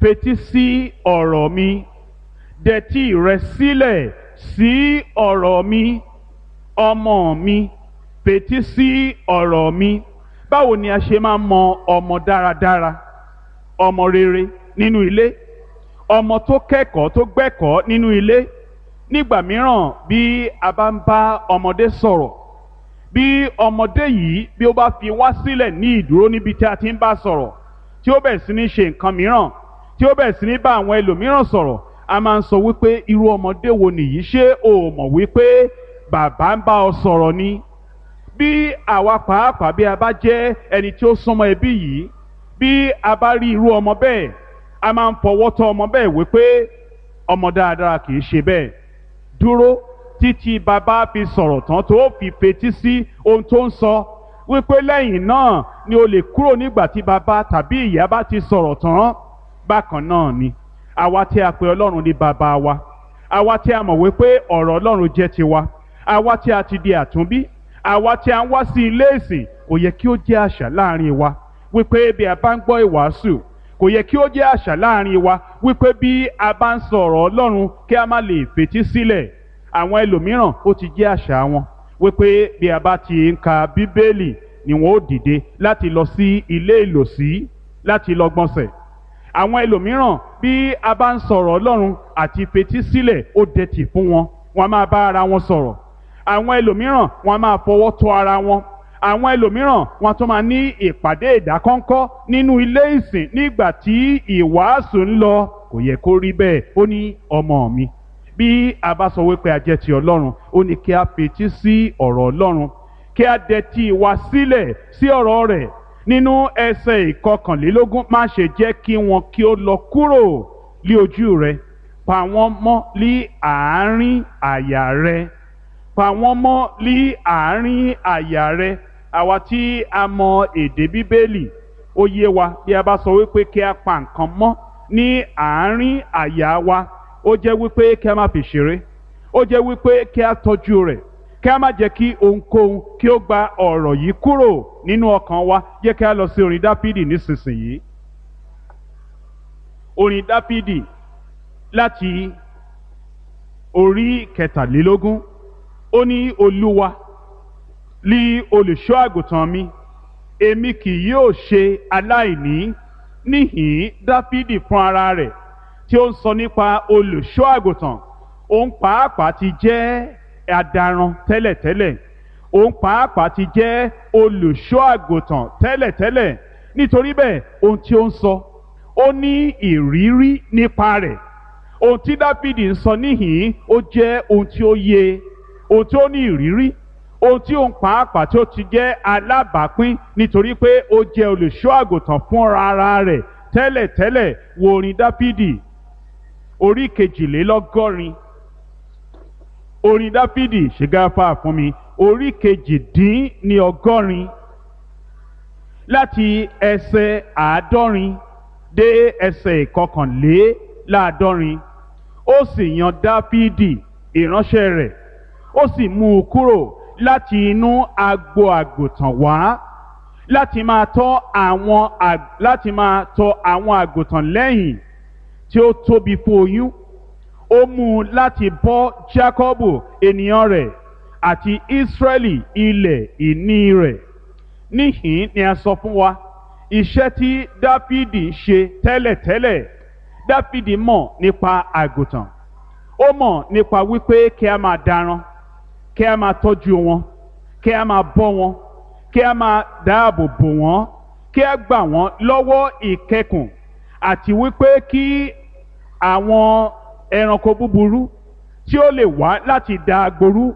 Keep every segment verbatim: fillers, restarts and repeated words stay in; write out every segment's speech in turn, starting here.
fetí sí ọ̀rọ̀ mi, dẹtí rẹ sílẹ̀ sí ọ̀rọ̀ mi. Ọmọ mi, fetí sí ọ̀rọ̀ mi. Báwo ni a ṣe máa mọ ọmọ dáradára, ọmọ rere nínú ilé, ọmọ tó kẹ́kọ̀ọ́ tó gbẹ́kọ̀ọ́ nínú ilé? Nígbà mìíràn bí a bá ń bá ọmọdé sọ̀rọ̀, bí ọmọdé yìí bí ó bá fi wá sílẹ̀ ní ìdúró níbi tí a ti ń bá sọ̀rọ̀, tí ó bẹ̀rẹ̀ sí ní ṣe nǹkan mìíràn, tí ó bẹ̀rẹ̀ sí ní bá àwọn ẹlòmíràn sọ̀rọ̀, a máa ń sọ wípé irú ọmọdé wo nìyí? Ṣé o mọ̀ wípé bàbá ń bá ọ sọ̀rọ̀ ni? Bí àwa pàápàá bí a bá jẹ́ ẹni tí ó súnmọ́ ẹbí yìí, bí a bá rí irú ọmọ bẹ́ẹ̀, a máa ń fọwọ́ tọ́ ọmọ bẹ́ẹ̀ wípé ọmọ dáadáa kì í ṣe bẹ́ẹ̀. Dúró títí bàbá fi sọ̀rọ̀ tán tó fi fetí sí ohun tó ń sọ, wípé lẹ́yìn náà ni o lè kúrò nígbà tí bàbá tàbí ìyá bá ti sọ̀rọ̀ tán. Bákan náà ni àwa tí a pè Ọlọ́run ní bàbá wa, àwa tí a mọ̀ wípé ọ̀rọ̀ Ọlọ́run jẹ́ tiwa, àwa tí a ti di àtúnbí, àwa tí a ń wá sí ilé ìsìn, kò yẹ kí ó jẹ́ àṣà láàrin wa wípé bí a bá ń gbọ́ ìwàásù, kò yẹ kí ó jẹ́ àṣà láàrin wa wípé bí a bá ń sọ̀rọ̀ Ọlọ́run kí a má lè fetí sílẹ̀. Àwọn ẹlòmíràn ó ti jẹ́ àṣà wọn wípé bí a bá ti ń ka Bíbélì ni wọn ó dìde láti lọ sí ilé ìlòsí láti lọ gbọ̀nsẹ̀. Àwọn ẹlòmíràn bí a bá ń sọ̀rọ̀ Ọlọ́run àti fetí sílẹ̀ ó dẹ̀tì fún wọn, wọn máa bá ara wọn sọ̀rọ̀. Àwọn ẹlòmíràn wọn máa fọwọ́ tọ́ ara wọn. Àwọn ẹlòmíràn wọn tún máa ní ìpàdé ìdákọ́ńkọ́ nínú ilé ìsìn nígbà tí ìwàásù ń lọ. Kò yẹ kó rí bẹ́ẹ̀. Ó ní ọmọ mi, bí a bá sọ wípé a jẹ́ ti Ọlọ́run, ó ní kí a fetí sí ọ̀rọ̀ Ọlọ́run, kí a dẹ̀tí wa sílẹ̀ sí ọ̀rọ̀ rẹ̀. Nínú ẹsẹ̀ ìkọkànlélógún, má ṣe jẹ́ kí wọn kí ó lọ kúrò lí ojú rẹ, pa wọ́n mọ́ lí àárín àyà rẹ, pa wọ́n mọ́ lí àárín àyà rẹ. Àwa tí a mọ èdè Bíbélì, ó yé wa bí a bá sọ wípé kí a pa nǹkan mọ́ ní àárín àyà wa, ó jẹ́ wípé kí a má fi ṣeré, ó jẹ́ wípé kí a tọ́jú rẹ̀, kí a má jẹ́ kí ohunkóhun kí ó gba ọ̀rọ̀ yìí kúrò nínú ọkàn wa. Jẹ́ kí a lọ sí orin Dáfídì nísinsìnyí. Orin Dáfídì láti orí kẹtàlélógún. Ó ní Olúwa lí olùṣọ́ àgùntàn mi, èmi kì yóò ṣe aláìní. Níhìn Dáfídì fún ara rẹ̀ tí ó ń sọ nípa olùṣọ́ àgùntàn, òun pàápàá ti jẹ́ adaran tẹ́lẹ̀tẹ́lẹ̀, òun pàápàá ti jẹ́ olùṣọ́ àgùntàn tẹ́lẹ̀tẹ́lẹ̀. Nítorí bẹ́ẹ̀ ohun tí ó ń sọ, ó ní ìrírí nípa rẹ̀. Ohun tí Dáfídì ń sọ níhìn ó jẹ́ ohun tí ó yé, ohun tí ó ní ìrírí, ohun tí òun pàápàá tí ó ti jẹ́ alábàápín, nítorí pé ó jẹ́ olùṣọ́ àgùntàn fúnra ara rẹ̀ tẹ́lẹ̀tẹ́lẹ̀. Wo orin Dáfídì orí kejìlélọ́gọ́rin. Orin Dáfídì, ṣègáfà fún mi, orí kejìdínní ọgọ́rin láti ẹsẹ̀ àádọ́rin dé ẹsẹ̀ ìkọkànléláàádọ́rin. Ó sì yan Dáfídì ìránṣẹ́ rẹ̀, ó sì mú un kúrò láti inú agbo àgùntàn wá, láti máa tọ́ àwọn láti máa tọ́ àwọn àgùntàn lẹ́yìn tí ó tóbi fún oyún. Ó mú un láti bọ́ Jákọ́bù ènìyàn rẹ̀ àti Ísírẹ́lì ilẹ̀ ìní rẹ̀. Níhìn ni a sọ fún wa iṣẹ́ tí Dáfídì ń ṣe tẹ́lẹ̀tẹ́lẹ̀. Dáfídì mọ̀ nípa àgùntàn, ó mọ̀ nípa wípé kí a máa daran, kí a máa tọ́jú wọn, kí a máa bọ́ wọn, kí a máa dáàbò bò wọ́n, kí a gbà wọ́n lọ́wọ́ ìkẹkùn, àti wípé kí àwọn ẹranko búburú tí ó lè wá láti da agboru,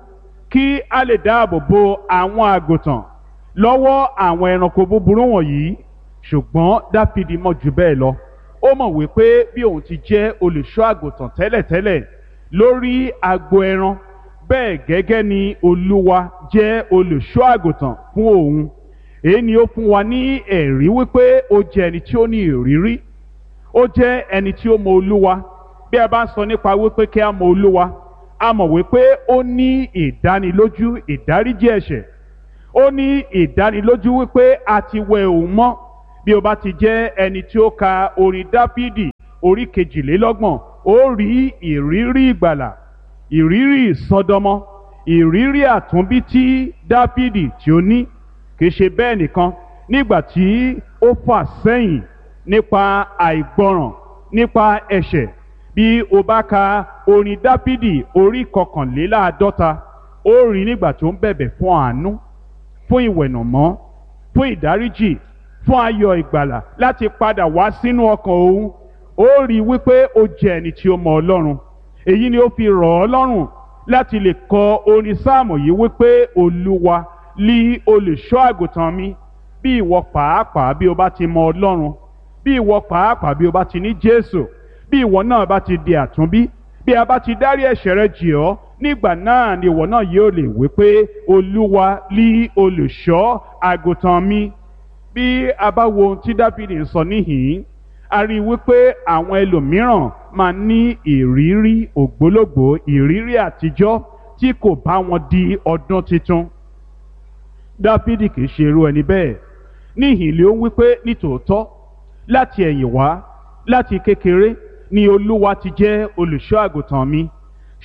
kí a lè dáàbò bo àwọn àgùntàn lọ́wọ́ àwọn ẹranko búburú wọ̀nyí. Ṣùgbọ́n Dáfídì mọ̀ jù bẹ́ẹ̀ lọ. Ó mọ̀ wípé bí òun ti jẹ́ olùṣọ́ àgùntàn tẹ́lẹ̀tẹ́lẹ̀ lórí agbo ẹran, bẹ́ẹ̀ gẹ́gẹ́ ni Olúwa jẹ́ olùṣọ́ àgùntàn fún òun. Èyí ni ó fún wa ní ẹ̀rí wípé ó jẹ́ ẹni tí ó ní ìrírí, ó jẹ́ ẹni tí ó mọ Olúwa. Bí a bá ń sọ nípa wípé kí a mọ Olúwa, a mọ̀ wípé ó ní ìdánilójú ìdáríjì ẹ̀ṣẹ̀, ó ní ìdánilójú wípé a ti wẹ òun mọ́. Bí o bá ti jẹ́ ẹni tí ó ka orin Dáfídì orí kejìlélọ́gbọ̀n, ó rí ìrírí ìgbàlà, ìrírí ìsọdọmọ, ìrírí àtúnbí tí Dáfídì tí ó ní. Kì í ṣe bẹ́ẹ̀ nìkan, nígbà tí ó fà sẹ́yìn nípa àìgbọràn, nípa ẹ̀ṣẹ̀, bí o bá ka orin Dáfídì orí kọkànléláàádọ́ta, ó rí nígbà tó ń bẹ̀bẹ̀ fún àánú, fún ìwẹ̀nàmọ́, fún ìdáríjì, fún ayọ̀ ìgbàlà láti padà wá sínú ọkàn òun. Ó rí wípé ó jẹ́ ẹni tí ó mọ Ọlọ́run. Èyí ni ó fi rọ̀ ọ́ lọ́rùn láti lè kọ orin sáàmù yìí wípé Olúwa lí olùṣọ́ àgùntàn mi. Bí ìwọ pàápàá bí o bá ti mọ Ọlọ́run, bí ìwọ pàápàá bí o bá ti ní Jésù, bí ìwọ náà bá ti di àtúnbí, bí a bá ti dárí ẹ̀ṣẹ̀ rẹ jì ọ́, nígbà náà ni ìwọ náà yóò lè wí pé Olúwa lí olùṣọ́ àgùntàn mi. Bí a bá wo ohun tí Dáfídì ń sọ níhìn-ín, a rí i wípé àwọn ẹlòmíràn máa ní ìrírí ògbólógbòó, ìrírí àtijọ́ tí kò bá wọn di ọdún tuntun. Dáfídì kì í ṣe irú ẹni bẹ́ẹ̀. Níhìn-ín ló ń wípé nítòótọ́ láti ẹ̀yìn wá, láti kékeré ni Olúwa ti jẹ́ olùṣọ́ àgùntàn mi,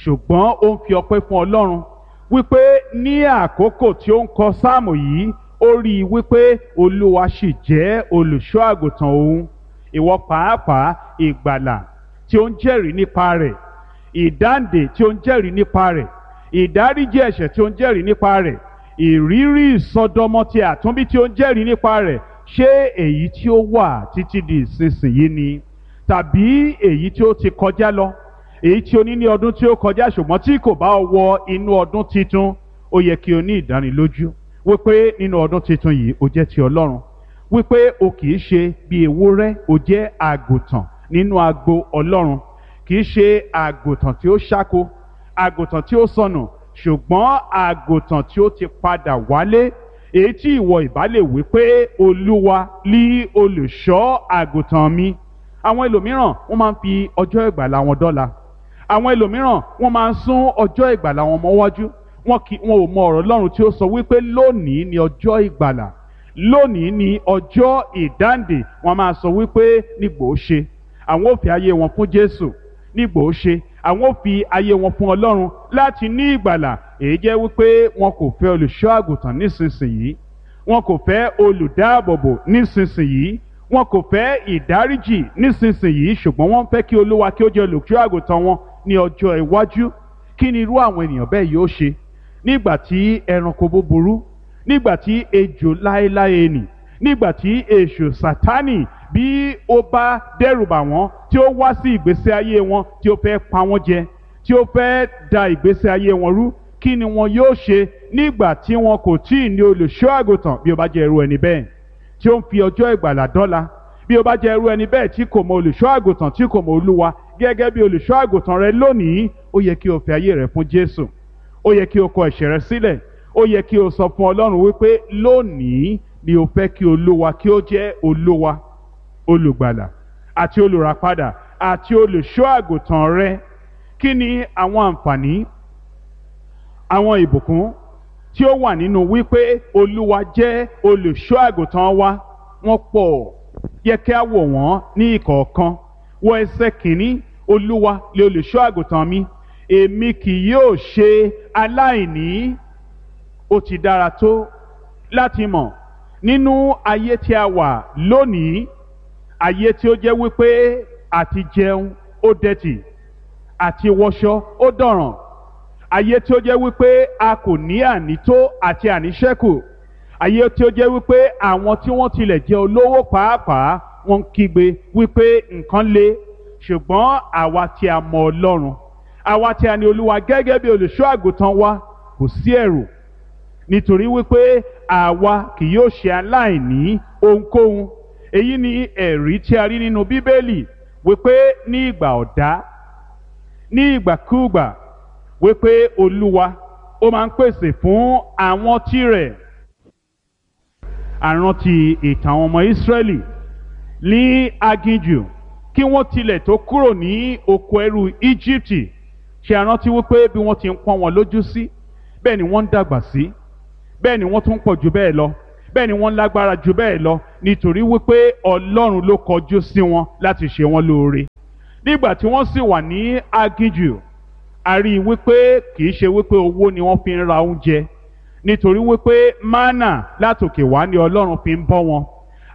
ṣùgbọ́n ó ń fi ọpẹ́ fún Ọlọ́run wípé ní àkókò tí ó ń kọ sáàmù yìí, ó rí i wípé Olúwa sì jẹ́ olùṣọ́ àgùntàn òun. Ìwọ pàápàá, ìgbàlà tí ó ń jẹ́rìí nípa rẹ̀, ìdáǹdè tí ó ń jẹ́rìí nípa rẹ̀, ìdáríjì ẹ̀ṣẹ̀ tí ó ń jẹ́rìí nípa rẹ̀, ìrírí ìsọdọmọ ti àtúnbí tí ó ń jẹ́rìí nípa rẹ̀, ṣé èyí tí ó wà títí di ìsinsìnyí ni, tàbí èyí tí ó ti kọjá lọ, èyí tí o ní ní ọdún tí ó kọjá ṣùgbọ́n tí kò bá wọ inú ọdún titun? Ó yẹ kí o ní ìdánilójú wípé nínú ọdún titun yìí o jẹ́ ti Ọlọ́run, wípé o kì í ṣe bí ewúrẹ́, o jẹ́ àgùntàn nínú agbo Ọlọ́run. Kì í ṣe àgùntàn tí ó ṣáko, àgùntàn tí ó sọnù, ṣùgbọ́n àgùntàn tí ó ti padà wálé, èyí tí ìwọ ìbá lè wí pé Olúwa lí olùṣọ́ àgùntàn mi. Àwọn ẹlòmíràn wọ́n máa ń fi ọjọ́ ìgbàlà wọn dọ́là. Àwọn ẹlòmíràn wọ́n máa ń sún ọjọ́ ìgbàlà wọn mọ́wájú. Wọn kì wọn ò mọ ọ̀rọ̀ Ọlọ́run tí ó sọ wípé lónìí ni ọjọ́ ìgbàlà, lónìí ni ọjọ́ ìdáǹdè. Wọ́n máa sọ wípé nígbò ó ṣe àwọn ò fi ayé wọn fún Jésù, nígbò ó ṣe àwọn ò fi ayé wọn fún Ọlọ́run láti ní ìgbàlà. Èyí jẹ́ wípé wọn kò fẹ́ olùṣọ́ àgùntàn nísinsìnyí, wọn kò fẹ́ olùdáàbòbò nísinsìnyí, wọn kò fẹ́ ìdáríjì nísinsìnyí, ṣùgbọ́n wọ́n fẹ́ kí Olúwa kí ó jẹ́ olùṣọ́ àgùntàn wọn ní ọjọ́ iwájú. Kí ni irú àwọn ènìyàn bẹ́ẹ̀ yóò ṣe nígbà tí ẹranko búburú, nígbà tí ejò láéláé nì, nígbà tí èṣù Sátánì bí ó bá dẹ́rùbà wọ́n, tí ó wá sí ìgbésí ayé wọn, tí ó fẹ́ pa wọ́n jẹ, tí ó fẹ́ da ìgbésí ayé wọn rú? Kí ni wọn yóò ṣe nígbà tí wọn kò tí ì ní olùṣọ́ àgùntàn? Bí ó bá jẹ́ irú ẹni bẹ́ẹ̀ tí ó ń fi ọjọ́ ìgbàlà dọ́là, bí ó bá jẹ́ irú ẹni bẹ́ẹ̀ tí kò mọ olùṣọ́ àgùntàn, tí kò mọ Olúwa gẹ́gẹ́ bí olùṣọ́ àgùntàn rẹ lónìí, ó yẹ kí o fi ayé rẹ fún Jésù, ó yẹ kí o kọ ẹ̀ṣẹ̀ rẹ sílẹ̀, ó yẹ kí o sọ fún Ọlọ́run wípé lónìí ni o fẹ́ kí Olúwa kí ó jẹ́ Olúwa, olùgbàlà àti olùràpadà àti olùṣọ́ àgùntàn rẹ. Kí ni àwọn àǹfààní, àwọn ìbùkún tí ó wà nínú wípé Olúwa jẹ́ olùṣọ́ àgùntàn wa? Wọ́n pọ̀, yẹ kí a wò wọ́n ní ìkọ̀ọ̀kan. Wọ ẹsẹ̀ kìíní, Olúwa lè olùṣọ́ àgùntàn mi, èmi kì yóò ṣe aláìní. Ó ti dára tó láti mọ̀ nínú ayé tí a wà lónìí, ayé tí ó jẹ́ wípé àti jẹun ó dẹ̀tì, àti wọṣọ ó dọ̀ràn, ayé tí ó jẹ́ wípé a kò ní ànító àti àníṣẹ́kù, ayé tí ó jẹ́ wípé àwọn tí wọ́n tilẹ̀ jẹ́ olówó pàápàá wọ́n ń kígbe wípé nǹkan le. Ṣùgbọ́n àwa tí a mọ Ọlọ́run, àwa tí a ní Olúwa gẹ́gẹ́ bí olùṣọ́ àgùntàn wa, kò sí ẹ̀rù, nítorí wípé àwa kì yóò ṣe aláìní ohunkóhun. Èyí ni ẹ̀rí tí a rí nínú Bíbélì wípé ní ìgbà ọ̀dá, ní ìgbàkúùgbà, wípé Olúwa ó máa ń pèsè fún àwọn tirẹ̀. Àrántí ìtàn àwọn ọmọ Ísírẹ́lì ní aginjù kí wọ́n tilẹ̀ tó kúrò ní oko ẹrú Íjíbítì. Ṣe àrántí wípé bí wọ́n ti ń pọ́n wọn lójú sí, bẹ́ẹ̀ ni wọ́n ń dàgbà sí, bẹ́ẹ̀ ni wọ́n tún pọ̀ jù bẹ́ẹ̀ lọ, bẹ́ẹ̀ ni wọ́n lágbára jù bẹ́ẹ̀ lọ, nítorí wípé Ọlọ́run ló kọjú sí wọn láti ṣe wọn lóore. Nígbà tí wọ́n sì wà ní aginjù, a rí i wípé kì í ṣe wípé owó ni wọ́n fi ń ra oúnjẹ, nítorí wípé mánà látòkè wá ni Ọlọ́run fi ń bọ́ wọn.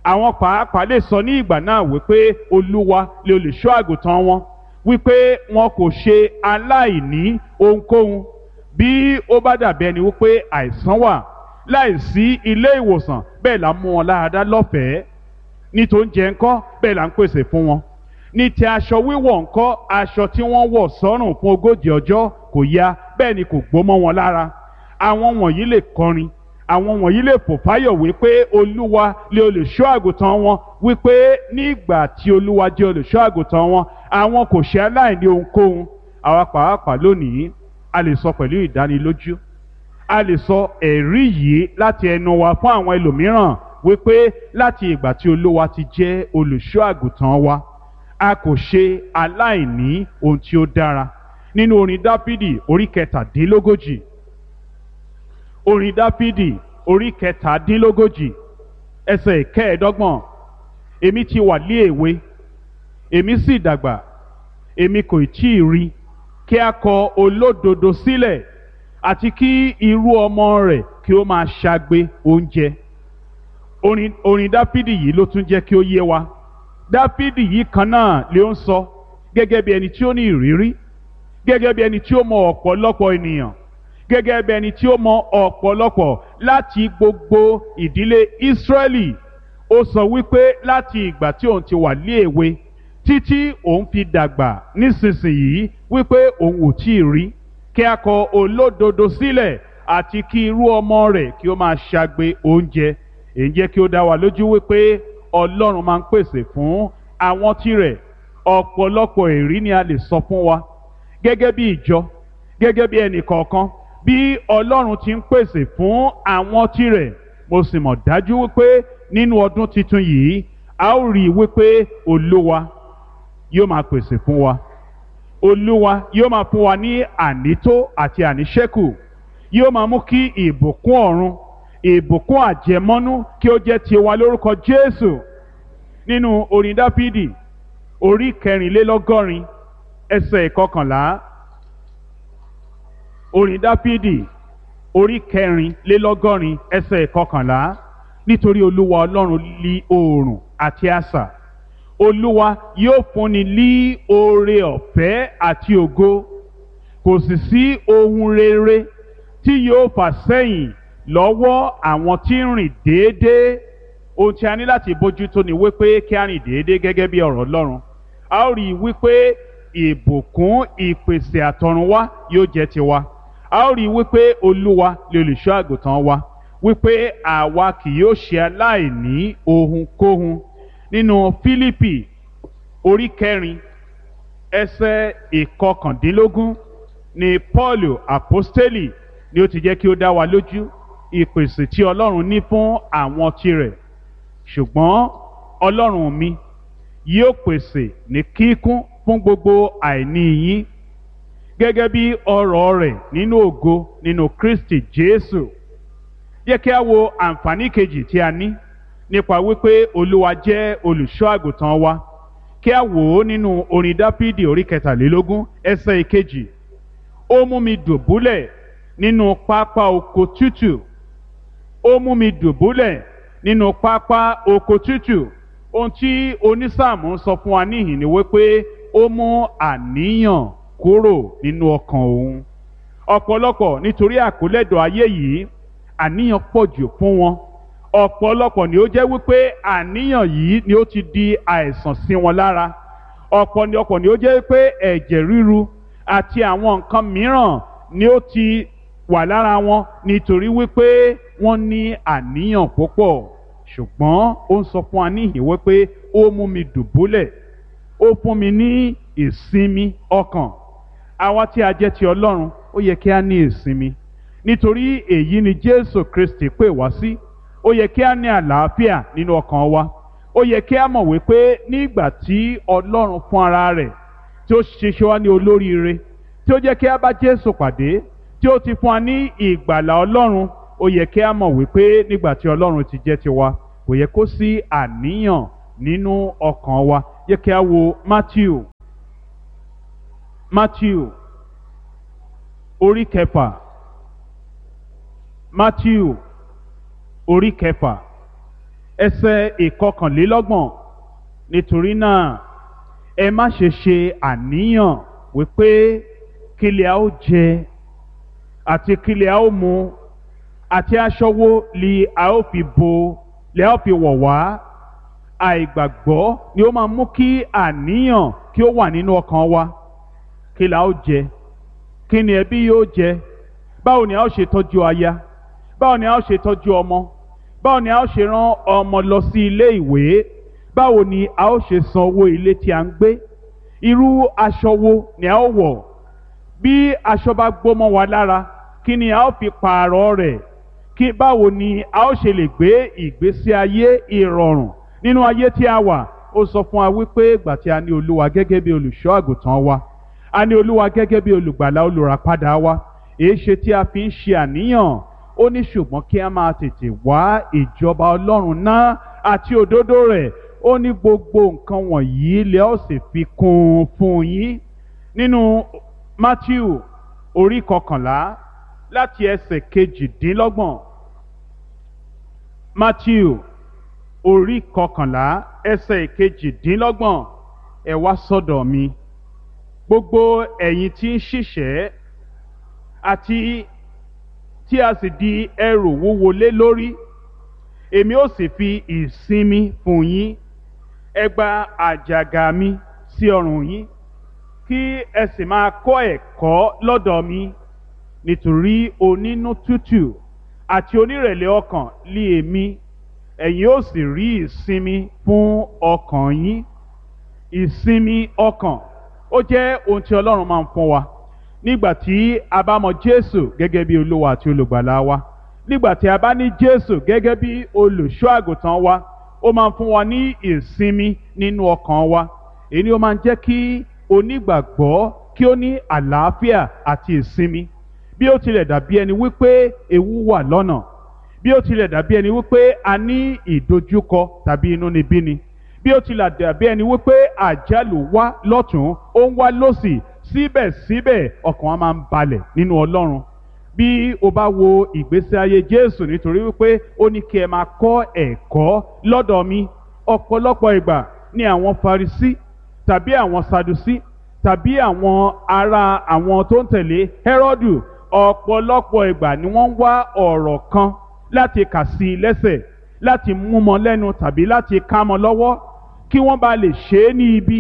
Àwọn pàápàá lè sọ ní ìgbà náà wípé Olúwa lè olùṣọ́ àgùntàn wọn, wípé wọn kò ṣe aláìní ohunkóhun. Bí ó bá dàbí ẹni wípé àìsàn wà láìsí ilé ìwòsàn, bẹ́ẹ̀ là ń mú wọn láradá lọ́fẹ̀ẹ́. Ní tó ń jẹ ńkọ́, bẹ́ẹ̀ là ń pèsè fún wọn. Ní ti aṣọ wíwọ̀ ńkọ́, aṣọ tí wọ́n wọ̀ sọ́rùn fún ogójì ọjọ́ kò ya, bẹ́ẹ̀ ni kò gbó mọ́ wọn lára. Àwọn wọ̀nyí lè kọrin, àwọn wọ̀nyí lè fò fáyọ̀ wípé Olúwa lè olùṣọ́ àgùntàn wọn, wípé nígbà tí Olúwa jẹ́ olùṣọ́ àgùntàn wọn, àwọn kò ṣe aláìní ohunkóhun. Àwa pàápàá lónìí, a lè sọ pẹ̀lú ìdánilójú, a lè sọ ẹ̀rí yìí láti ẹnu wa fún àwọn ẹlòmíràn wípé láti ìgbà tí Olúwa ti jẹ́ olùṣọ́ àgùntàn wa, a kò ṣe aláìní ohun tí ó dára. Nínú orin Dáfídì orí kẹtàdínlógójì, orin Dáfídì orí kẹtàdínlógójì ẹsẹ̀ ìkẹẹ̀ẹ́dọ́gbọ̀n, èmi ti wà lé èwe, èmi sì dàgbà, èmi kò tí ì rí kí a kọ olódodo sílẹ̀, àti kí irú ọmọ rẹ̀ kí ó máa ṣagbe oúnjẹ. Orin, orin Dáfídì yìí ló tún jẹ́ kí ó yé wa. Dáfídì yìí kan náà ló ń sọ gẹ́gẹ́ bí ẹni tí ó ní ìrírí, gẹ́gẹ́ bí ẹni tí ó mọ ọ̀pọ̀lọpọ̀ ènìyàn, gẹ́gẹ́ bí ẹni tí ó mọ ọ̀pọ̀lọpọ̀ láti gbogbo ìdílé Ísírẹ́lì. Ó sọ wípé láti ìgbà tí òun ti wà ní èwe títí òun fi dàgbà nísinsìnyí, wípé òun ò tí ì rí kí a kọ olódodo sílẹ̀, àti kí irú ọmọ rẹ̀ kí ó máa ṣagbe oúnjẹ. Èyí jẹ́ kí ó dá wa lójú wípé Ọlọ́run máa ń pèsè fún àwọn tirẹ̀. Ọ̀pọ̀lọpọ̀ èrí ni a lè sọ fún wa gẹ́gẹ́ bí ìjọ, gẹ́gẹ́ bí ẹnì kọ̀ọ̀kan, bí Ọlọ́run ti ń pèsè fún àwọn tirẹ̀. Mo sì mọ̀ dájú wípé nínú ọdún tuntun yìí, a ó rí i wípé Olúwa yóò máa pèsè fún wa. Olúwa yóò máa fún wa ní ànító àti àníṣẹ́kù. Yóò máa mú kí ìbùkún ọ̀run, ìbùkún àjẹmọ́nú kí ó jẹ́ tiwa lórúkọ Jésù. Nínú orin Dáfídì orí kẹrìnlélọ́gọ́rin ẹsẹ̀ ìkọkànlá, orin Dáfídì orí kẹrìnlélọ́gọ́rin ẹsẹ̀ ìkọkànlá, nítorí Olúwa Ọlọ́run lí oòrùn àti asà, Olúwa yóò fúnni lí oore ọ̀fẹ́ àti ògo, kò sì sí ohun rere tí yóò fà sẹ́yìn lọ́wọ́ àwọn tí ń rìn déédéé. Ohun tí a ní láti bójútó ni wípé kí a rìn déédéé gẹ́gẹ́ bí ọ̀rọ̀ Ọlọ́run. A ó rí i wípé ìbùkún ìpèsè àtọ̀runwá yóò jẹ́ tiwa. A ó rí i wípé Olúwa lè olùṣọ́ àgùntàn wa, wípé àwa kì yóò ṣe aláìní ohunkóhun. Nínú Fílípì orí kẹrin ẹsẹ̀ ìkọkàndínlógún ni Pọ́ọ̀lù àpọ́stélì ni ó ti jẹ́ kí ó dá wa lójú ìpèsè tí Ọlọ́run ní fún àwọn tirẹ̀. Ṣùgbọ́n Ọlọ́run mi yóò pèsè ní kíkún fún gbogbo àìní yín gẹ́gẹ́ bí ọrọ̀ rẹ̀ nínú ògo nínú Kristi Jésù. Yẹ kí a wo àǹfààní kejì tí a ní nípa wípé Olúwa jẹ́ olùṣọ́ àgùntàn wa. Kí a wò ó nínú orin Dáfídì orí kẹtàlélógún ẹsẹ̀ ìkejì. Ó mú mi dùbúlẹ̀ nínú pápá oko tútù. Ó mú mi dùbúlẹ̀ nínú pápá oko tútù. Ohun tí onísáàmù ń sọ fún wa níhìn ni wípé ó mú àníyàn kúrò nínú ọkàn òun. Ọ̀pọ̀lọpọ̀ nítorí àkólẹ́dọ̀ ayé yìí, àníyàn pọ̀ jù fún wọn. Ọ̀pọ̀lọpọ̀ ni ó jẹ́ wípé àníyàn yìí ni ó ti di àìsàn sí wọn lára. Ọ̀pọ̀lọpọ̀ ni ó jẹ́ wípé ẹ̀jẹ̀ ríru àti àwọn nǹkan mìíràn ni ó ti wà lára wọn nítorí wípé wọ́n ní àníyàn púpọ̀. Ṣùgbọ́n ó ń sọ fún wa níhìn wípé ó mú mi dùbúlẹ̀, ó fún mi ní ìsinmi ọkàn. Àwa tí a jẹ́ ti Ọlọ́run, ó yẹ kí a ní ìsinmi, nítorí èyí ni Jésù Kristi pè wá sí. Ó yẹ kí a ní àlàáfíà nínú ọkàn wa. Ó yẹ kí a mọ̀ wípé nígbà tí Ọlọ́run fún ara rẹ̀ tí ó ṣiṣẹ́ wa ní olóríire, tí ó jẹ́ kí a bá Jésù pàdé, tí ó ti fún wa ní ìgbàlà Ọlọ́run, ó yẹ kí a mọ̀ wípé nígbà tí Ọlọ́run ti jẹ́ tiwa, kò yẹ kó sí àníyàn nínú ọkàn wa. Yẹ kí a wo Matthew Matthew orí kẹfà. Matthew orí kẹfà ẹsẹ̀ ìkọkànlélọ́gbọ̀n. Nítorí náà ẹ má ṣe ṣe àníyàn wípé kí lè a ó jẹ àti kí lè a ó mu àti aṣọ wo li a ó fi bo lè a ó fi wọ̀ wá. Àìgbàgbọ́ ni ó máa mú kí àníyàn kí ó wà nínú ọkàn wa. Kí la ó jẹ? Kí ni ẹbí yóò jẹ? Báwo ni a ó ṣe tọ́jú aya? Báwo ni a ó ṣe tọ́jú ọmọ? Báwo ni a ó ṣe rán ọmọ lọ sí ilé ìwé? Báwo ni a ó ṣe san owó ilé tí a ń gbé? Irú aṣọ wo ni a ó wọ̀? Bí aṣọ bá gbó mọ́ wa lára, kí ni a ó fi pààrọ̀ rẹ̀? Kí báwo ni a ó ṣe lè gbé ìgbésí ayé ìrọ̀rùn nínú ayé tí a wà? Ó sọ fún wa wípé ìgbà tí a ní Olúwa gẹ́gẹ́ bí olùṣọ́ àgùntàn wa, a ní Olúwa gẹ́gẹ́ bí olùgbàlà olùràpadà wa, èéṣe tí a fi ń ṣe àníyàn? Ó ní ṣùgbọ́n kí a máa tètè wá ìjọba Ọlọ́run náà àti òdodo rẹ̀. Ó ní gbogbo nǹkan wọ̀nyí lẹ ó sì fi kún un fún yín. Nínú Matthew orí kọkànlá láti ẹsẹ̀ kejìdínlọ́gbọ̀n. Matthew orí kọkànlá ẹsẹ̀ kejìdínlọ́gbọ̀n. Ẹ wá sọ́dọ̀ mi, gbogbo ẹ̀yin tí ń ṣiṣẹ́ àti tí a sì di ẹrù wúwo lé lórí, èmi ó sì fi ìsinmi fún yín. Ẹ gba àjàgà mi sí ọrùn yín, kí ẹ sì máa kọ́ ẹ̀kọ́ lọ́dọ̀ mi, nítorí onínú tútù àti onírẹ̀lẹ̀ ọkàn lé èmi, ẹ̀yin ó sì rí ìsinmi fún ọkàn yín. Ìsinmi ọkàn ó jẹ́ ohun tí Ọlọ́run máa ń fún wa nígbà tí a bá mọ Jésù gẹ́gẹ́ bí Olúwa àti olùgbàlà wa, nígbà tí a bá ní Jésù gẹ́gẹ́ bí olùṣọ́ àgùntàn wa. Ó máa ń fún wa ní ìsinmi nínú ọkàn wa. Èyí ni ó máa ń jẹ́ kí onígbàgbọ́ kí ó ní àlàáfíà àti ìsinmi. Bí ó tilẹ̀ dàbí ẹni wípé ewu wà lọ́nà, bí ó tilẹ̀ dàbí ẹni wípé a ní ìdojúkọ tàbí inúnibíni, bí ó tilẹ̀ dàbí ẹni wípé àjálù wá lọ́tún ó ń wá lọ́sì, síbẹ̀síbẹ̀ ọkàn wa máa ń balẹ̀ nínú Ọlọ́run. Bí o bá wo ìgbésí ayé Jésù, nítorí wípé ó ní kí ẹ máa kọ́ ẹ̀kọ́ lọ́dọ̀ mi. Ọ̀pọ̀lọpọ̀ ìgbà ni àwọn Farisí tàbí àwọn Sadusí tàbí àwọn ará àwọn tó ń tẹ̀lé Hẹ́rọ́dù, ọ̀pọ̀lọpọ̀ ìgbà ni wọ́n ń wá ọ̀rọ̀ kan láti kà sí i lẹ́sẹ̀, láti mú mọ́ lẹ́nu tàbí láti ká mọ́ lọ́wọ́, kí wọ́n bá lè ṣe é ní ibi.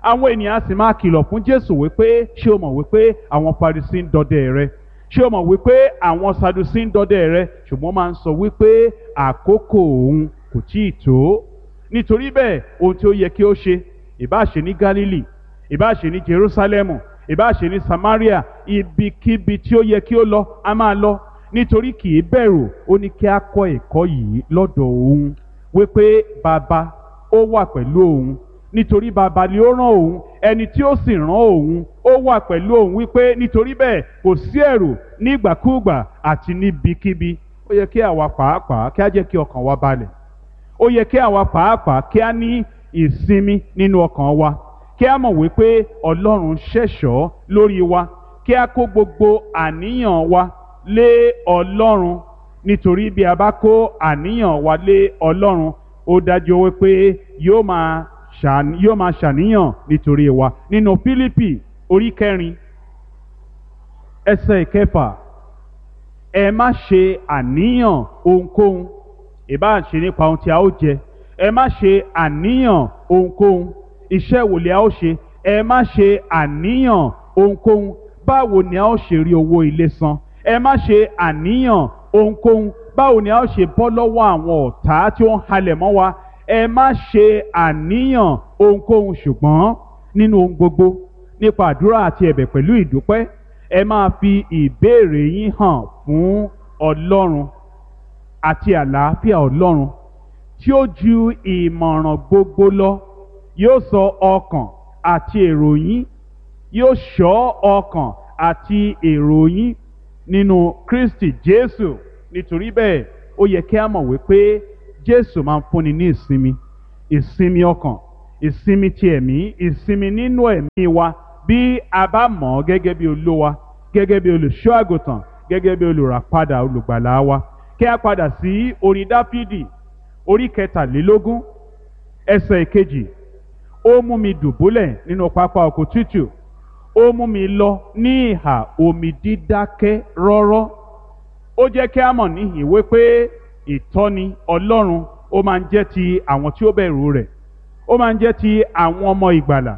Àwọn ènìyàn á sì máa kìlọ̀ fún Jésù wípé ṣé o mọ̀ wípé àwọn Farisí ń dọdẹ rẹ? Ṣé o mọ̀ wípé àwọn Sadusí ń dọdẹ rẹ? Ṣùgbọ́n máa ń sọ wípé àkókò òun kò tíì tó. Nítorí bẹ́ẹ̀, ohun tí ó yẹ kí ó ṣe, ìbá ṣe ní Gálílì, ìbá ṣe ní Jerúsálẹ́mù, ìbá ṣe ní Samaria, ibikíbi tí ó yẹ kí ó lọ, a máa lọ, nítorí kì í bẹ̀rù. Ó ní kí a kọ́ ẹ̀kọ́ yìí lọ́dọ̀ òun wípé bàbá ó wà pẹ̀lú òun, nítorí bàbá ni ó rán òun, ẹni tí ó sì rán òun ó wà pẹ̀lú òun, wípé nítorí bẹ́ẹ̀ kò sí ẹ̀rù nígbàkúùgbà àti níbikíbi. Ó yẹ kí àwa pàápàá kí a jẹ́ kí ọkàn wa balẹ̀. Ó yẹ kí àwa pàápàá kí a ní ìsinmi nínú ọkàn wa, kí a mọ̀ wípé Ọlọ́run ṣẹ̀ṣọ́ lórí wa, kí a kó gbogbo àníyàn wa lé Ọlọ́run, nítorí bí a bá kó àníyàn wa lé Ọlọ́run, ó dájú wípé yóò máa yóò máa ṣàníyàn nítorí wa. Nínú Fílípì orí kẹrin ẹsẹ̀ ìkẹfà, ẹ má ṣe àníyàn ohunkóhun, ìbá ṣe nípa ohun tí a ó jẹ, ẹ má ṣe àníyàn ohunkóhun, iṣẹ́ wo ni a ó ṣe, ẹ má ṣe àníyàn ohunkóhun, báwo ni a ó ṣe rí owó ilé san, ẹ má ṣe àníyàn ohunkóhun, báwo ni a ó ṣe bọ́ lọ́wọ́ àwọn ọ̀tá tí ó ń halẹ̀ mọ́ wa, ẹ má ṣe àníyàn ohunkóhun, ṣùgbọ́n nínú ohun gbogbo nípa àdúrà àti ẹ̀bẹ̀ pẹ̀lú ìdúpẹ́, ẹ máa fi ìbéèrè yín hàn fún Ọlọ́run, àti àlàáfíà Ọlọ́run tí ó ju ìmọ̀ràn gbogbo lọ yóò sọ ọkàn àti èrò yín, yóò ṣọ́ ọkàn àti èrò yín nínú Kristi Jésù. Nítorí bẹ́ẹ̀, ó yẹ kí a mọ̀ wípé Jésù máa ń fúnni ní ìsinmi, ìsinmi ọkàn, ìsinmi ti ẹ̀mí, ìsinmi nínú ẹ̀mí wa Bí a bá mọ̀ ọ́ gẹ́gẹ́ bí Olúwa, gẹ́gẹ́ bí olùṣọ́ àgùntàn, gẹ́gẹ́ bí olùràpadà olùgbàlà wa. Kí a padà sí orin Dáfídì orí kẹtàlélógún ẹsẹ̀ ìkejì. Ó mú mi dùbúlẹ̀ nínú pápá oko tútù, ó mú mi lọ ní ìhà omi dídákẹ́ rọ́rọ́. Ó jẹ́ kí a mọ̀ níhìn wípé ìtọ́ni Ọlọ́run ó máa ń jẹ́ ti àwọn tí ó bẹ̀rù rẹ̀, ó máa ń jẹ́ ti àwọn ọmọ ìgbàlà.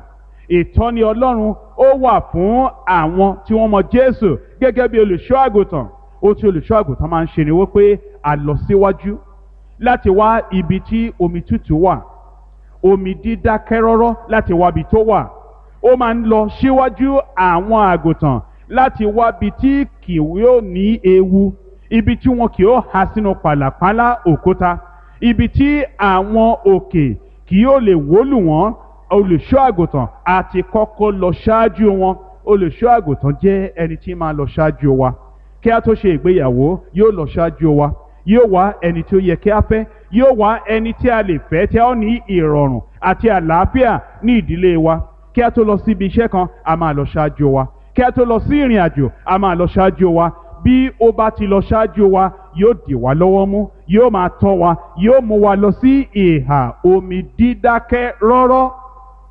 Ìtọ́ni Ọlọ́run ó wà fún àwọn tí wọ́n mọ Jésù gẹ́gẹ́ bí olùṣọ́ àgùntàn. Ohun tí olùṣọ́ àgùntàn máa ń ṣe ni wípé a lọ síwájú láti wá ibi tí omi tútù wà, omi dídákẹ́ rọ́rọ́ láti wá ibi tó wà. Ó máa ń lọ síwájú àwọn àgùntàn láti wá ibi tí kì yóò ní ewu, ibi tí wọn kì yóò há sínú pàlàpálá òkúta, ibi tí àwọn òkè kì yóò lè wólù wọ́n. Olùṣọ́ àgùntàn àti kọ́kọ́ lọ ṣáájú wọn. Olùṣọ́ àgùntàn jẹ́ ẹni tí máa lọ ṣáájú wa. Kí a tó ṣe ìgbéyàwó, yóò lọ ṣáájú wa, yóò wá ẹni tí ó yẹ kí a fẹ́, yóò wá ẹni tí a lè fẹ́ tí a ó ní ìrọ̀rùn àti àlàáfíà ní ìdílé wa. Kí a tó lọ síbi iṣẹ́ kan, a máa lọ ṣáájú wa. Kí a tó lọ sí ìrìn àjò, a máa lọ ṣáájú wa. Bí ó bá ti lọ ṣáájú wa, yóò dì wá lọ́wọ́ mú, yóò máa tọ́ wa, yóò mú wa lọ sí ìhà omi dídákẹ́ rọ́rọ́.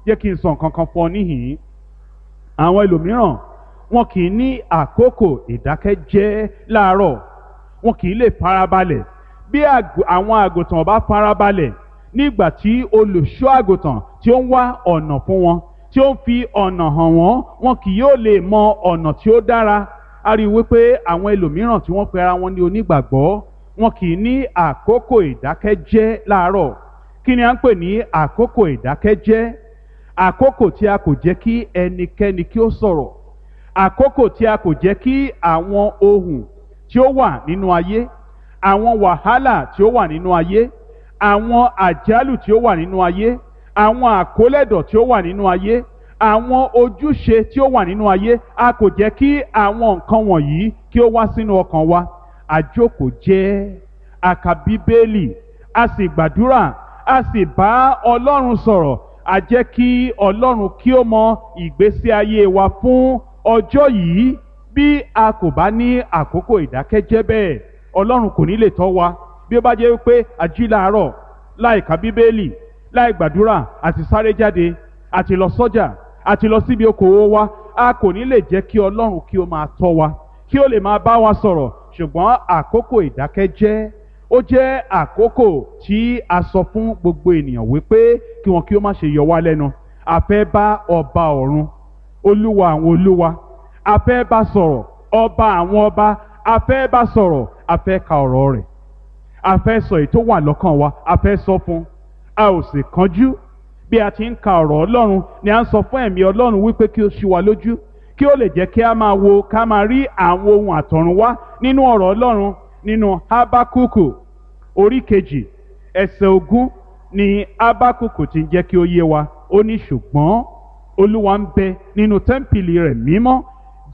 Jẹ́ kí n sọ nǹkan kan fún ọ níhìn-ín. Àwọn ẹlòmíràn wọn kì í ní àkókò ìdákẹ́jẹ́ láàárọ̀, wọn kì í lè farabalẹ̀. Bí àwọn àgùntàn bá farabalẹ̀ nígbà tí olùṣọ́ àgùntàn tí ó ń wá ọ̀nà fún wọn, tí ó ń fi ọ̀nà hàn wọ́n, wọn kì yóò lè mọ ọ̀nà tí ó dára. A rí i wípé àwọn ẹlòmíràn tí wọ́n pe ara wọn ní onígbàgbọ́, wọn kì í ní àkókò ìdákẹ́jẹ́ láàárọ̀. Kí ni à ń pè ní àkókò ìdákẹ́jẹ́? Àkókò tí a kò jẹ́ kí ẹnikẹ́ni kí ó sọ̀rọ̀, àkókò tí a kò jẹ́ kí àwọn ohùn tí ó wà nínú ayé, àwọn wàhálà tí ó wà nínú ayé, àwọn àjálù tí ó wà nínú ayé, àwọn àkólẹ̀dọ̀ tí ó wà nínú ayé, àwọn ojúṣe tí ó wà nínú ayé, a kò jẹ́ kí àwọn nǹkan wọ̀nyí kí ó wá sínú ọkàn wa. Àjókòó jẹ́, a kà Bíbélì, a sì gbàdúrà, a sì bá Ọlọ́run sọ̀rọ̀. A jẹ́ kí Ọlọ́run kí ó mọ ìgbésí ayé wa fún ọjọ́ yìí. Bí a kò bá ní àkókò ìdákẹ́jẹ́ bẹ́ẹ̀, Ọlọ́run kò ní lè tọ́ wa. Bí ó bá jẹ́ wípé a jí láàárọ̀ láì ka Bíbélì, láì gbàdúrà, àti sáré jáde, àti lọ sọ́jà, àti lọ síbi okòwò wa, a kò ní lè jẹ́ kí Ọlọ́run kí ó máa tọ́ wa, kí ó lè máa bá wa sọ̀rọ̀. Ṣùgbọ́n àkókò ìdákẹ́jẹ́ ó jẹ́ àkókò tí a sọ fún gbogbo ènìyàn wípé kí wọn kí ó má ṣe yọ wá lẹ́nu. A fẹ́ bá ọba ọ̀run, olúwa àwọn olúwa, a fẹ́ bá sọ̀rọ̀, ọba àwọn ọba, a fẹ́ bá sọ̀rọ̀, a fẹ́ ka ọ̀rọ̀ rẹ̀, a fẹ́ sọ èyí tó wà lọ́kàn wa, a fẹ́ sọ fún. A ò sì kánjú. Bí a ti ń ka ọ̀rọ̀ Ọlọ́run ni a ń sọ fún ẹ̀mí Ọlọ́run wípé kí ó ṣí wa lójú, kí ó lè jẹ́ kí a máa wo, ká máa rí àwọn ohun àtọ̀run wá nínú ọ̀rọ̀ Ọlọ́run. Nínú Hábákúkù orí kejì ẹsẹ̀ ogún ni Hábákúkù ti ń jẹ́ kí ó yé wa. Ó ní, ṣùgbọ́n Olúwa ń bẹ nínú tẹ́ḿpìlì rẹ̀ mímọ́,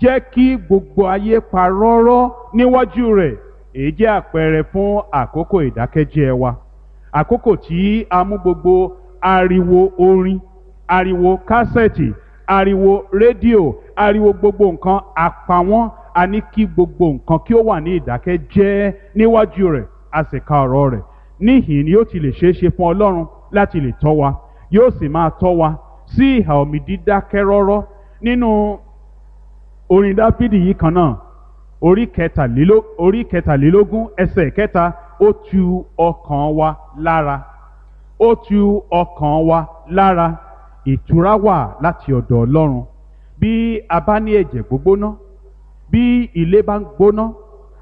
jẹ́ kí gbogbo ayé pa rọ́rọ́ níwájú rẹ̀. Èyí jẹ́ àpẹẹrẹ fún àkókò ìdákẹ́jẹ́ wa, àkókò tí a mú gbogbo ariwo orin, ariwo kásẹ̀tì, ariwo rédíò, ariwo gbogbo nǹkan, a pa wọ́n. A ní kí gbogbo nǹkan kí ó wà ní ìdákẹ́jẹ́ níwájú rẹ̀, a sì ka ọ̀rọ̀ rẹ̀. Níhìn ni yóò ti lè ṣeé ṣe fún Ọlọ́run láti lè tọ́ wa, yóò sì máa tọ́ wa sí ìhà omi dídákẹ́ rọ́rọ́. Nínú orin Dáfídì yìí kan náà, orí kẹtàléló- orí kẹtàlélógún ẹsẹ̀ kẹta, ó tu ọkàn wa lára, ó tu ọkàn wa lára. Ìtura wà láti ọ̀dọ̀ Ọlọ́run. Bí a bá ní ẹ̀jẹ̀ gbógbóná, bí ilé bá ń gbóná,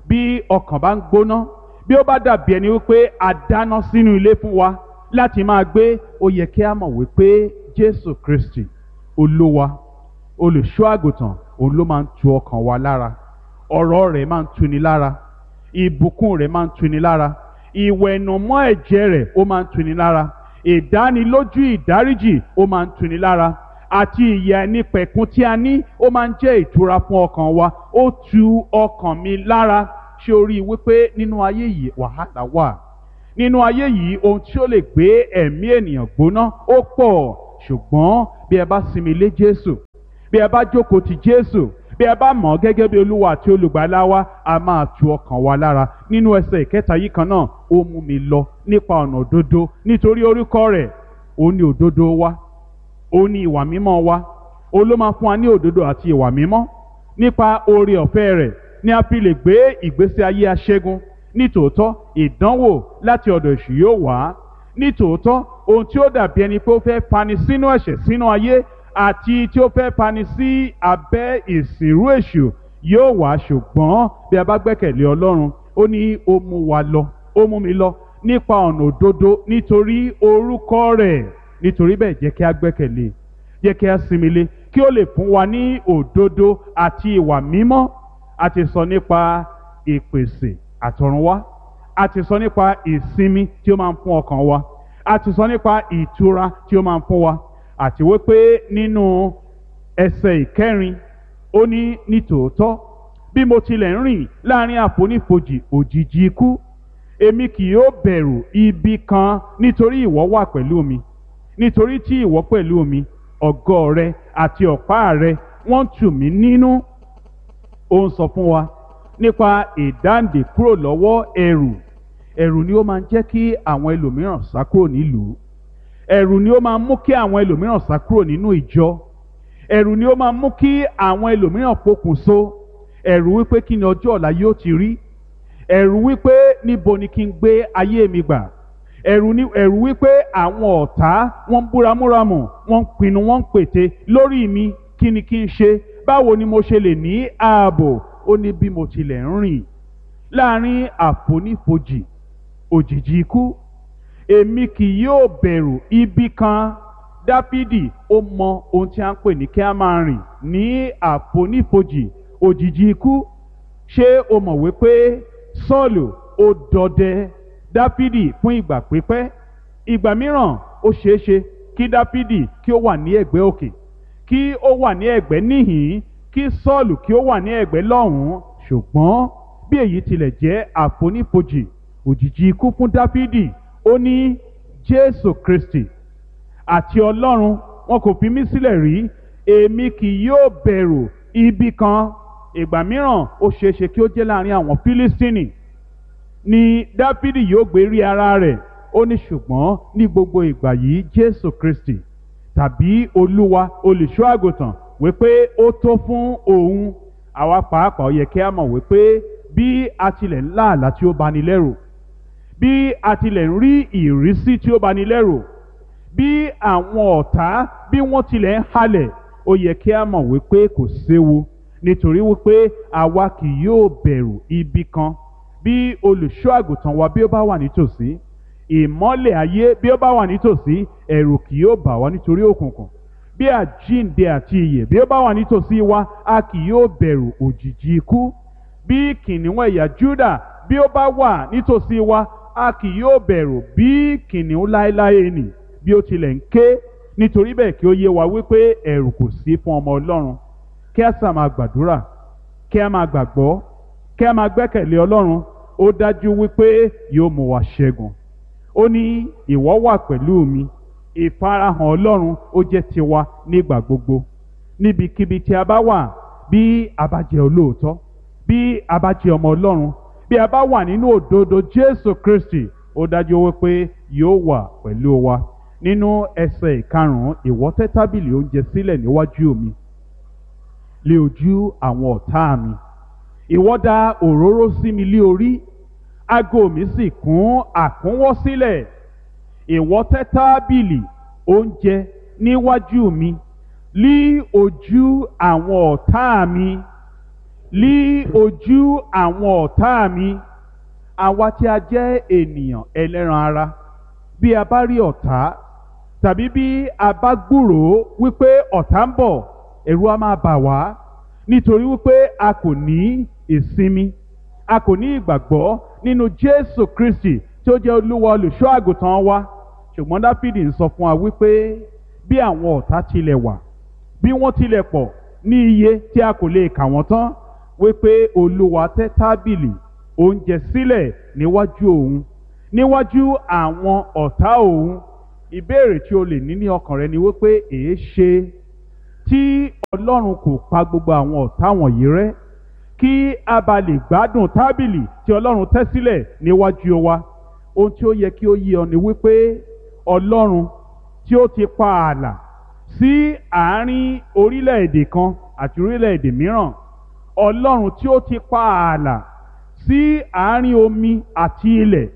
bí ọkàn bá ń gbóná, bí ó bá dàbí ẹni wípé a dáná sínú ilé fún wa láti máa gbé, ó yẹ kí a mọ̀ wípé Jésù Kristi Olúwa, olùṣọ́ àgùntàn, òun ló máa ń tu ọkàn wa lára. Ọ̀rọ̀ rẹ̀ máa ń tuni lára, ìbùkún rẹ̀ máa ń tuni lára, ìwẹ̀nùmọ́ ẹ̀jẹ̀ rẹ̀ ó máa ń tuni lára, ìdánilójú ìdáríjì ó máa ń tuni lára, àti ìyè àìnípẹ̀kun tí a ní ó máa ń jẹ́ ìtura fún ọkàn wa. Ó tu ọkàn mi lára. Ṣé o rí i wípé nínú ayé yìí wàhálà wà? Nínú ayé yìí ohun tí ó lè gbé ẹ̀mí ènìyàn gbóná ó pọ̀. Ṣùgbọ́n bí ẹ bá sinmi lé Jésù, bí Bí ẹ bá jókòó ti Jésù, bí ẹ bá mọ̀ ọ́ gẹ́gẹ́ bí Olúwa àti Olùgbàlà wa, a máa tu ọkàn wa lára. Nínú ẹsẹ̀ ìkẹta yìí kan náà, ó mú mi lọ nípa ọ̀nà òdodo nítorí orúkọ rẹ̀. Ó ní òdodo wa, ó ní ìwà mímọ́ wa, ó ló máa fún wa ní òdodo àti ìwà mímọ́. Nípa oore ọ̀fẹ́ rẹ̀ ni a fi lè gbé ìgbésí ayé aṣẹ́gun. Nítòótọ́ ìdánwò láti ọ̀dọ̀ èṣù yóò wá. Nítòótọ́ ohun tí ó dàbí ẹni pé ó fẹ́ fani sínú ẹ̀ṣẹ̀, sínú ayé, àti tí ó fẹ́ fani sí abẹ́ ìsìnrú èṣù yóò wá, ṣùgbọ́n bí a bá gbẹ́kẹ̀lé Ọlọ́run, ó ní ó mú wa lọ, ó mú mi lọ nípa ọ̀nà òdodo nítorí orúkọ rẹ̀. Nítorí bẹ́ẹ̀ jẹ́ kí a gbẹ́kẹ̀lé, jẹ́ kí a sinmi lé, kí ó lè fún wa ní òdodo àti ìwà mímọ́. A ti sọ nípa ìpèsè àtọ̀runwá, a ti sọ nípa ìsinmi tí ó máa ń fún ọkàn wa, a ti sọ nípa ìtura tí ó máa ń fún wa, àti wípé nínú ẹsẹ̀ ìkẹrin ó ní nítòótọ́ bí mo tilẹ̀ ń rìn láàrin àfonífojì òjìji ikú, èmi kì yóò bẹ̀rù ibi kan nítorí ìwọ wà pẹ̀lú mi, nítorí tí ìwọ pẹ̀lú mi, ọ̀gọ́ rẹ àti ọ̀pá rẹ wọ́n tù mí nínú. Ó ń sọ fún wa nípa ìdáǹdè kúrò lọ́wọ́ ẹ̀rù. Ẹ̀rù ni ó máa ń jẹ́ kí àwọn ẹlòmíràn sá kúrò nílùú. Ẹ̀rù ni ó máa ń mú kí àwọn ẹlòmíràn sá kúrò nínú ìjọ. Ẹ̀rù ni ó máa ń mú kí àwọn ẹlòmíràn pokùnso. Ẹ̀rù wípé kí ni ọjọ́ ọ̀la yóò ti rí. Ẹ̀rù wípé níbo ni kí n gbé ayé mi gbà. Ẹ̀rù ni ẹ̀rù wípé àwọn ọ̀tá wọ́n ń búramúramù, wọ́n ń pinnu, wọ́n ń pète lórí mi, kí ni kí n ṣe? Báwo ni mo ṣe lè ní ààbò? Ó ní bí mo tilẹ̀ ń rìn láàrin àfonífojì òjìji ikú, èmi kì yóò bẹ̀rù ibi kan. Dáfídì ó mọ ohun tí a ń pè ní kí a máa rìn ní àfonífojì òjìji ikú. Ṣé o mọ̀ wípé Sọ́ọ̀lù ó dọdẹ Dáfídì fún ìgbà pípẹ́? Ìgbà mìíràn ó ṣeéṣe kí Dáfídì kí ó wà ní ẹ̀gbẹ́ òkè, kí ó wà ní ẹ̀gbẹ́ níhìn-ín, kí Sọ́ọ̀lù kí ó wà ní ẹ̀gbẹ́ lọ́hùn-ún. Ṣùgbọ́n bí èyí tilẹ̀ jẹ́ àfonífojì òjìji ikú fún Dáfídì, ó ní Jésù Kristi àti Ọlọ́run wọn kò fi mí sílẹ̀ rí, èmi kì yóò bẹ̀rù ibi kan. Ìgbà mìíràn ó ṣeéṣe kí ó jẹ́ láàrin àwọn Fílístínì ni Dáfídì yóò gbé rí ara rẹ̀. Ó ní ṣùgbọ́n ní gbogbo ìgbà yìí Jésù Kristi tàbí Olúwa olùṣọ́ àgùntàn wípé ó tó fún òun. Àwa pàápàá ó yẹ kí a mọ̀ wípé bí a tilẹ̀ ń lá àlá tí ó bani lẹ́rù, bí a tilẹ̀ ń rí ìrísí tí ó bani lẹ́rù, bí àwọn ọ̀tá bí wọ́n tilẹ̀ ń halẹ̀, ó yẹ kí a mọ̀ wípé kò séwu, nítorí wípé àwa kì yóò bẹ̀rù ibi kan. Bí olùṣọ́ àgùntàn wa bí ó bá wà nítòsí, ìmọ́lẹ̀ ayé bí ó bá wà nítòsí, ẹ̀rù kì yóò bà wá nítorí òkùnkùn. Bí àjíǹde àti ìyè bí ó bá wà nítòsí wa, a kì yóò bẹ̀rù òjìji ikú. Bí kìnìún ẹ̀yà Júdà bí ó bá wà nítòsí wa, a kì yóò bẹ̀rù bí kìnìún láéláé nì bí ó tilẹ̀ ń ké. Nítorí bẹ́ẹ̀ kí ó yé wa wípé ẹ̀rù kò sí fún ọmọ Ọlọ́run. Kí a sà máa gbàdúrà, kí a máa gbàgbọ́, kí a máa gbẹ́kẹ̀lé Ọlọ́run. Ó dájú wípé yóò mú wa ṣẹ́gun. Ó ní ìwọ wà pẹ̀lú mi. Ìfarahàn Ọlọ́run ó jẹ́ tiwa nígbà gbogbo. Níbikíbi tí a bá wà, bí a bá jẹ́ olóòótọ́, bí a bá jẹ́ ọmọ Ọlọ́run, bí a bá wà nínú òdodo Jésù Kristi, ó dájú wípé yóò wà pẹ̀lú wa. Nínú ẹsẹ̀ ìkarùn-ún, ìwọ tẹ́ tábìlì oúnjẹ sílẹ̀ níwájú mi lé ojú àwọn ọ̀tá mi. Ìwọ dà òróró sí mi lé orí, ago mi sì kún àkúnwọ́ sílẹ̀. Ìwọ tẹ́ tábìlì oúnjẹ níwájú mi lí ojú àwọn ọ̀tá mi, lí ojú àwọn ọ̀tá mi. Àwa tí a jẹ́ ènìyàn ẹlẹ́ran ara, bí a bá rí ọ̀tá tàbí bí a bá gbúròó wípé ọ̀tá ń bọ̀, ẹ̀rù á máa bà wá, nítorí wípé a kò ní ìsinmi, a kò ní ìgbàgbọ́ nínú Jésù Kristi tí ó jẹ́ Olúwa olùṣọ́ àgùntàn wa. Ṣùgbọ́n Dáfídì ń sọ fún wa wípé bí àwọn ọ̀tá tilẹ̀ wà, bí wọ́n tilẹ̀ pọ̀ ní iye tí a kò lè kà wọ́n tán, wípé Olúwa tẹ́ tábìlì oúnjẹ sílẹ̀ níwájú òun, níwájú àwọn ọ̀tá òun. Ìbéèrè tí o lè ní ní ọkàn rẹ ni wípé èé ṣe Tí Ọlọ́run kò pa gbogbo àwọn ọ̀tá wọ̀nyí rẹ́ kí a bá lè gbádùn tábìlì tí Ọlọ́run tẹ́ sílẹ̀ níwájú wa. Ohun tí ó yẹ kí ó yé ọ ni wípé Ọlọ́run tí ó ti pa ààlà sí àárín orílẹ̀-èdè kan àti orílẹ̀-èdè mìíràn, Ọlọ́run tí ó ti pa ààlà sí àárín omi àti ilẹ̀,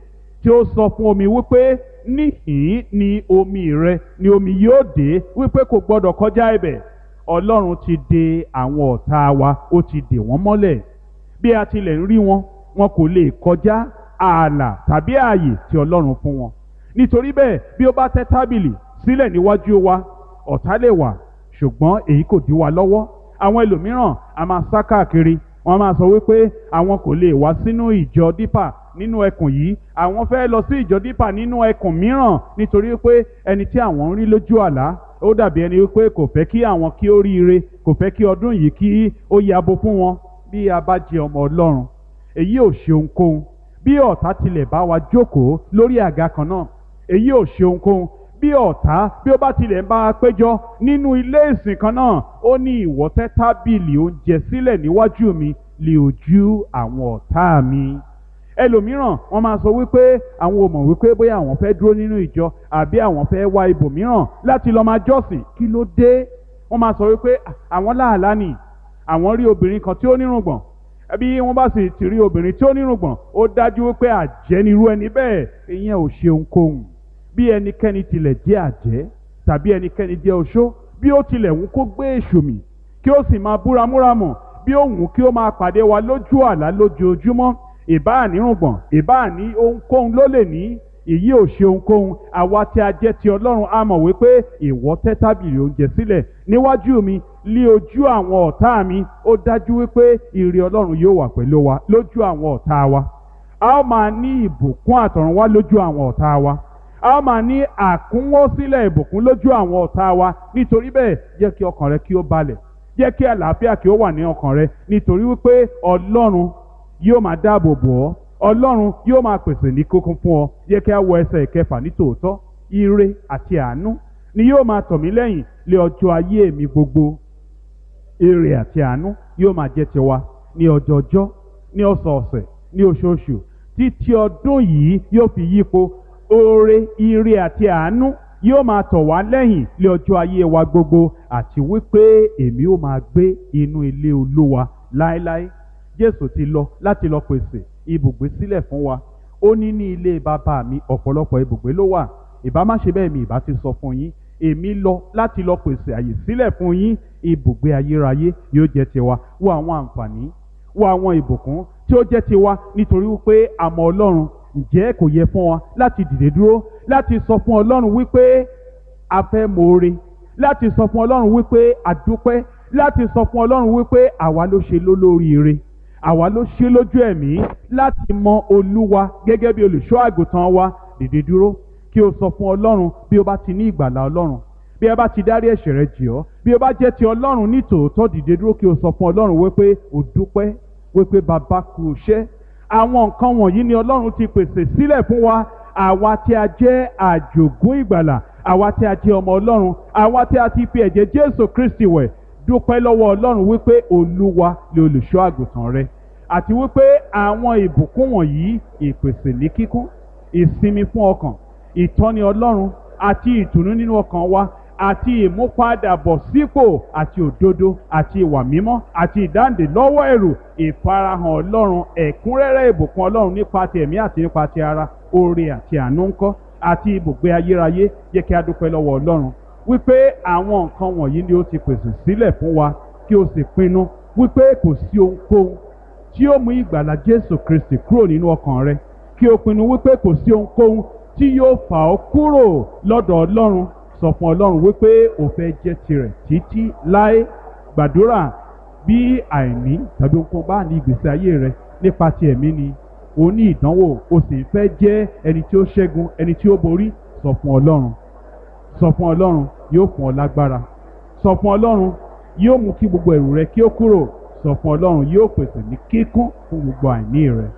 tí ó sọ fún omi wípé níhìn ni omi rẹ ni omi yóò dé, wípé kò gbọdọ̀ kọjá ibẹ̀. Ọlọ́run ti de àwọn ọ̀tá wa, ó ti dè wọ́n mọ́lẹ̀. Bí a tilẹ̀ ń rí wọn, wọn kò lè kọjá ààlà tàbí ààyè tí Ọlọ́run fún wọn. Nítorí bẹ́ẹ̀, bí ó bá tẹ́ tábìlì sílẹ̀ níwájú wa, ọ̀tá lè wà, ṣùgbọ́n èyí kò dí wa lọ́wọ́. Àwọn ẹlòmíràn a máa sá káàkiri, wọ́n máa sọ wípé àwọn kò lè wá sínú ìjọ Dípà nínú ẹkùn yìí, àwọn fẹ́ lọ sí ìjọ Dípà nínú ẹkùn mìíràn, nítorí pé ẹni tí àwọn ń rí lójú àlá ó dàbí ẹni wípé kò fẹ́ kí àwọn kí ó ríire, kò fẹ́ kí ọdún yìí kí ó yabo fún wọn. Bí a bá jẹ ọmọ Ọlọ́run, èyí ò ṣe ohunkóhun. Bí ọ̀tá tilẹ̀ bá wa jókòó lórí àga kan náà, èyí ò ṣe ohunkóhun. Bí ọ̀tá bí ó bá tilẹ̀ ń bá a péjọ nínú ilé ìsìn kan náà, ó ní ìwọ tẹ́ tábìlì oúnjẹ sílẹ̀ níwájú mi lé ojú àwọn ọ̀tá mi. Ẹlòmíràn wọ́n máa sọ wípé àwọn ò mọ̀ wípé bóyá àwọn fẹ́ dúró nínú ìjọ àbí àwọn fẹ́ wá ibòmíràn láti lọ máa jọ́sìn. Kí ló dé? Wọ́n máa sọ wípé àwọn láàlá nì, àwọn rí obìnrin kan tí ó nírùngbọ̀n. Bí wọ́n bá sì ti rí obìnrin tí ó nírùngbọ̀n, ó dájú wípé àjẹ́ nirú ẹni bẹ́ẹ̀. Ìyẹn ò ṣe ohunkóhun. Bí ẹnikẹ́ni tilẹ̀ jẹ́ àjẹ́ tàbí ẹnikẹ́ni jẹ́ oṣó, bí ó tilẹ̀ wù kó gbé èṣù mì kí ó sì máa búramúramù, bí ó wù kí ó máa pàdé wa lójú àlá lójoojúmọ́, ìbáà nírùngbọ̀n, ìbáà ní ohunkóhun ló lè ní, èyí ò ṣe ohunkóhun. Àwa tí a jẹ́ ti Ọlọ́run a mọ̀ wípé ìwọ tẹ́ tábìlì oúnjẹ sílẹ̀ níwájú mi lí ojú àwọn ọ̀tá mi. Ó dájú wípé ire Ọlọ́run yóò wà pẹ̀lú wa lójú àwọn ọ̀tá wa. A ó máa ní ìbùkún àtọ̀run wá lójú àwọn ọ̀tá wa. A ó máa ní àkúnwọ́sílẹ̀ ìbùkún lójú àwọn ọ̀tá wa. Nítorí bẹ́ẹ̀, jẹ́ kí ọkàn rẹ kí ó balẹ̀, jẹ́ kí àlàáfíà kí ó wà ní ọkàn rẹ, nítorí wípé Ọlọ́run yóò máa dáàbò bò ọ́, Ọlọ́run yóò máa pèsè ní kókún fún ọ. Jẹ́ kí a wọ ẹsẹ̀ ìkẹfà ní tòótọ́. Ire àti àánú ni yóò máa tọ̀ mí lẹ́yìn lé ọjọ́ ayé mi gbogbo. Ire àti àánú yóò máa jẹ́ tiwa ní ọjọọjọ́, ní ọ̀sọ̀ọ̀sẹ̀, ní oṣooṣù, títí ọdún yìí yóò fi yípo. Oore, ire àti àánú yóò máa tọ̀ wá lẹ́yìn lé ọjọ́ ayé wa gbogbo, àti wípé èmi ó máa gbé inú ilé Olúwa láéláé. Jésù ti lọ láti lọ pèsè ibùgbé sílẹ̀ fún wa. Ó ní ní ilé bàbá mi ọ̀pọ̀lọpọ̀ ibùgbé ló wà. Ìbá má ṣe bẹ́ẹ̀ mi ìbá ti sọ fún yín. Èmi lọ láti lọ pèsè àyè sílẹ̀ fún yín. Ibùgbé ayérayé yóò jẹ́ tiwa. Wo àwọn àǹfààní, wo àwọn ìbùkún tí ó jẹ́ tiwa nítorí wípé a mọ̀ Ọlọ́run. Ǹjẹ́ kò yẹ fún wa láti dìde dúró láti sọ fún Ọlọ́run wípé a fẹ́ moore, láti sọ fún Ọlọ́run wípé a dúpẹ́, láti sọ fún Ọlọ́run wípé àwa ló ṣe lólóríire, àwa ló ṣe lójú ẹ̀mí láti mọ Olúwa gẹ́gẹ́ bí olùṣọ́ àgùntàn wa. Dìde dúró kí o sọ fún Ọlọ́run bí o bá ti ní ìgbàlà Ọlọ́run, bí ẹ bá ti dárí ẹ̀ṣẹ̀ rẹ jì ọ́, bí o bá jẹ́ ti Ọlọ́run ní tòótọ́. Dìde dúró kí o sọ fún Ọlọ́run wípé o dúpẹ́, wípé bàbá kú iṣẹ́. Àwọn nǹkan wọ̀nyí ni Ọlọ́run ti pèsè sílẹ̀ fún wa, àwa tí a jẹ́ àjògún ìgbàlà, àwa tí a jẹ́ ọmọ Ọlọ́run, àwa tí a ti fi ẹ̀jẹ̀ Jésù Kristi wẹ̀. Dúpẹ́ lọ́wọ́ Ọlọ́run wípé Olúwa ni olùṣọ́ àgùntàn rẹ, àti wípé àwọn ìbùkún wọ̀nyí, ìpèsè ní kíkún, ìsinmi fún ọkàn, ìtọ́ni Ọlọ́run àti ìtùnú nínú ọkàn wa, àti ìmúpadàbọ̀sípò àti òdodo àti ìwà mímọ́ àti ìdáǹdè lọ́wọ́ ẹ̀rù, ìfarahàn Ọlọ́run, ẹ̀kúnrẹ́rẹ́ ìbùkún Ọlọ́run nípa ti ẹ̀mí àti nípa ti ara, oore àti àánú ńkọ́, àti ibùgbé ayérayé. Jẹ́ kí a dúpẹ́ lọ́wọ́ Ọlọ́run wípé àwọn nǹkan wọ̀nyí ni ó ti pèsè sílẹ̀ fún wa, kí o sì pinnu wípé kò sí ohunkóhun tí ó mú ìgbàlà Jésù Kristi kúrò nínú ọkàn rẹ, kí o pinnu wípé kò sí ohunkóhun tí yóò fà ọ́ kúrò lọ́dọ̀ Ọlọ́run. Sọ fún Ọlọ́run wípé o fẹ́ jẹ́ tirẹ̀ títí láé. Gbàdúrà bí àìní tàbí ohunkóhun bá ní ìgbésí ayé rẹ nípa ti ẹ̀mí ni o ní ìdánwò, o sì ń fẹ́ jẹ́ ẹni tí ó ṣẹ́gun, ẹni tí ó borí. Sọ fún Ọlọ́run, sọ fún Ọlọ́run, yóò fún ọ lágbára. Sọ fún Ọlọ́run, yóò mú kí gbogbo ẹ̀rù rẹ kí ó kúrò. Sọ fún Ọlọ́run, yóò pèsè ní kíkún fún gbogbo àìní rẹ.